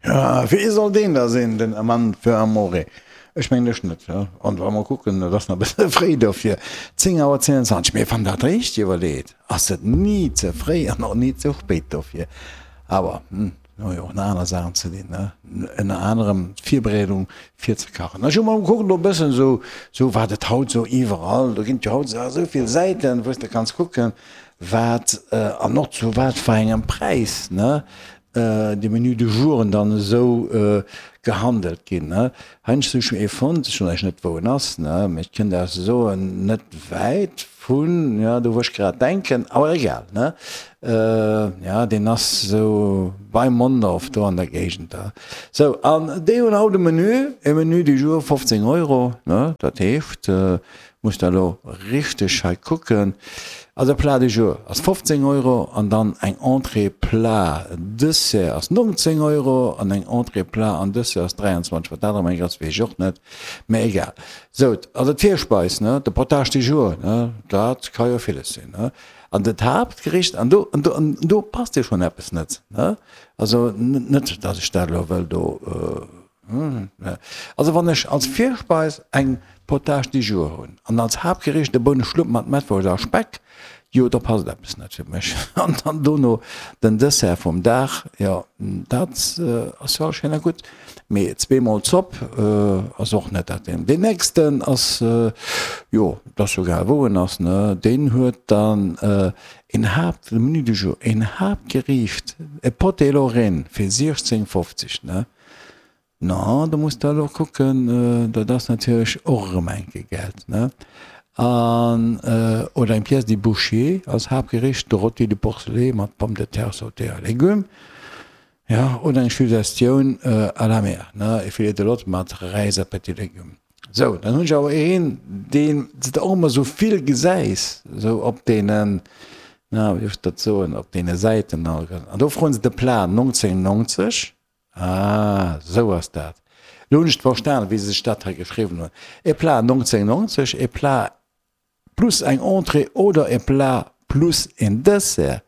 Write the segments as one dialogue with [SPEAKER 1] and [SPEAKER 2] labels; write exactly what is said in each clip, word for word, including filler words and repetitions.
[SPEAKER 1] Ja, wee soll deen da sinn, den Amant für Amore? Ech mengen ech net. An wa mer kucken, et ass nach e bësse fréi dofir, zéng Auer zénganzwanzeg. Mee wann dat richteg iwwerleet, ass et ni ze fréi an och ni ze spéit dofir. Awer mir hu jo och nach aner Saachen ze dinn, ne? Ënner anerem d'Virbereedung fir ze kachen. Ech hu mol gekuckt elo e bëssen esou, esou wat et haut esou iwwerall, do ginn et jo haut esou vill Säiten, wou s de kanns kucken, wat an och zu wat fir engem Präis, ne? Déi Menus du jouren dann esou gehandelt ginn. Heiansdo hu ech ee fonnt, ech soen Iech net wou en ass, mee ech kënnt Iech soen, net wäit vun, jo do wou ech grad denken, awer egal, ne, jo deen ass esou bei Mondorf do an der Géigend da. Sou, an déi hunn haut e Menu, e Menu du jour fofzéng Euro, ne, dat heescht, Muss der elo richteg hei kucken. Also Plat du jour ass fofzéng Euro an dann eng Entrée, Plat, Dessert ass nongzéng Euro an eng Entrée, Plat an Dessert ass dräianzwanzeg. Wat dat erëm eng ass, weess ech och net, mä egal. Sou, also d'Virspeis, ne, de Potage du jour, ne, dat ka jo villes sinn, ne. An dat Haaptgericht, an do, an do, an do passt jo schonn eppes net, ne. Also net, datt ech dat elo wëll do. Also wann ech als Virspeis eng Potage du jour hunn an als Haaptgericht e Bouneschlupp mat Mettwurscht a Speck, jo da passt eppes net fir mech. An dann dono den Dessert vum Dag, jo dat ass jo alles schéin a gutt, mee zweemol Zopp ass och net dat. Deen nächsten ass, jo dat ass jo egal wou en ass, ne, deen huet dann een Haapt, Menu du jour, een Haaptgericht, e Potée Lorraine fir siechzéng fofzeg, ne. Na, do muss de elo kucken, dat ass natierlech och erëm enke Geld, ne? An, oder eng Pièce de bouchée als Haaptgericht, de Rôti de porcelet mat Pommes de terre sautées a légumes, jo, oder eng Suggestion à la mer, ne, e Filet de lotte mat Räis a petits légumes. Sou, dann hunn ech awer een, deen s de och ëmmer esou vill gesäis, esou op deenen, na, wéi duerf ech dat soen, op deene Säiten, an do froen se de Plat nongzéng nongzeg. Ah, sou ass dat. Elo hunn ech et verstanen, wéi se sech dat hei geschriwwen hunn. E Plat nongzéng nongzeg, e Plat plus eng Entrée oder e Plat plus en Dessert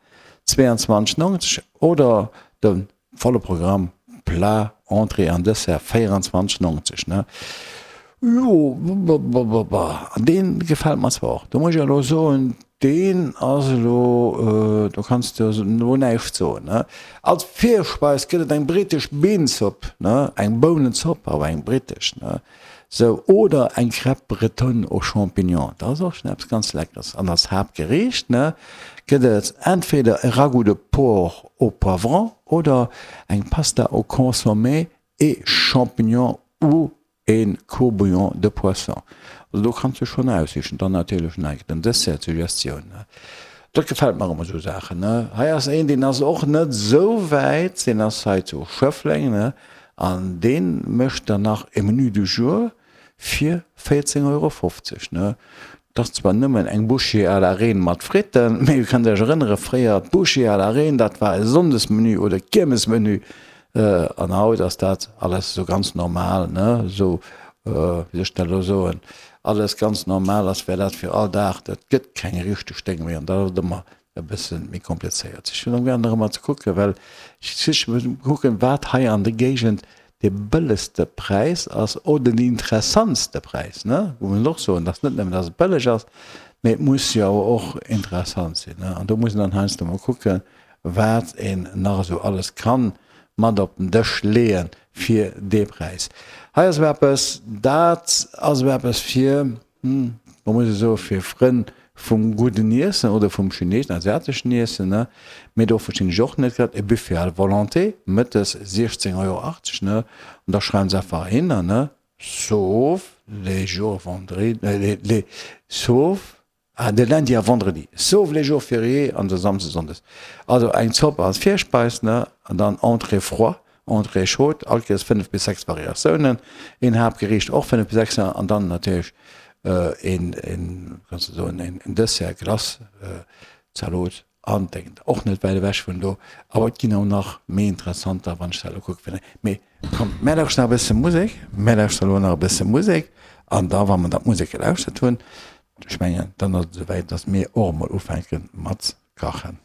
[SPEAKER 1] zweeanzwanzeg nongzeg oder de volle Programm Plat, Entrée an Dessert véieranzwanzeg nongzeg, ne? Jo, an dee gefält mer zwar och. Do muss ech elo soen, deen ass elo, do kanns de elo näischt soen, ne? Als Virspeis gëtt et eng brittesch Beanzopp, ne, eng Bounenzopp, awer eng brittesch, ne, sou, oder eng Crêpe bretonne aux champignons, dat ass och schonn eppes ganz Leckeres. An als Haaptgeriicht, ne, gëtt et entweder e Ragoût de porc au poivron oder eng Pasta au consommé et champignons ou een Court-bouillon de poisson. Also do kanns du schonn aussichen. Dann natierlech nach den Dessert, d'Suggestioun, ne. Dat gefält mer ëmmer, esou Saachen, ne. Hei ass een, deen ass och net esou wäit, deen ass hei zu Schëffleng, ne, an dee mécht dann nach e Menu du jour fir véierzéng Euro fofzeg, ne. 't ass zwar nëmmen eng Bouchée à la reine mat Fritten, mee dir kënnt Iech erënnere, fréier d'Bouchée à la reine, dat war e Sonndesmenu oder Kiermesmenu, an haut ass dat alles esou ganz normal, ne, esou, wéi soll ech dat elo soen, alles ganz normal, als wär dat fir all Dag. Dat gëtt keng richteg Déng méi an dat ass et ëmmer e bësse méi komplizéiert. Ech hunn amgaang nach ëmmer ze kucken, well ech muss kucken, wat hei an der Géigend dee bëllegste Präis ass oder den interessantste Präis, ne? Muss een och soen, dass net nëmmen, dass et bëlleg ass, mee et muss jo awer och interessant sinn, ne? An do muss een dann heiansdo mol kucken, wat een nach esou alles kann mat op den Dësch leeë fir dee Präis. Hei ass awer eppes, dat ass awer eppes fir, Ma muss ech soen, fir Frënn vum gudden Iessen oder vum chineeschen, asiateschen Iessen, ne? Mee do verstinn ech och net grad, e Buffet à volonté, mëttes siechzéng Euro achtzeg, ne? An da schreiwen se einfach hinner, ne, sauf les jours vendredi, les, sauf, ah, de lundi à vendredi, sauf les jours fériés an de Samsdes, Sonndes. Also eng Zopp als Virspeis, ne? An dann Entrée froid, Entrée chaude, all Kéiers fënnef bis sechs Variatiounen, een Haaptgeriicht och fënnef bis sechs an dann natierlech een, een, kanns de soen, een Dessert, Glace, Zalot an Déngen. Och net wäit ewech vun do, awer et ginn och nach méi interessanter, wann ech dat elo kucken. Mee kommt, mär lauschteren nach e bësse Musek, mär lauschteren elo nach e bësse Musek an da wa mer da d'Musek gelauschtert hunn, ech mengen, dann ass et esouwäit, datt mir och emol ufänke mat kachen.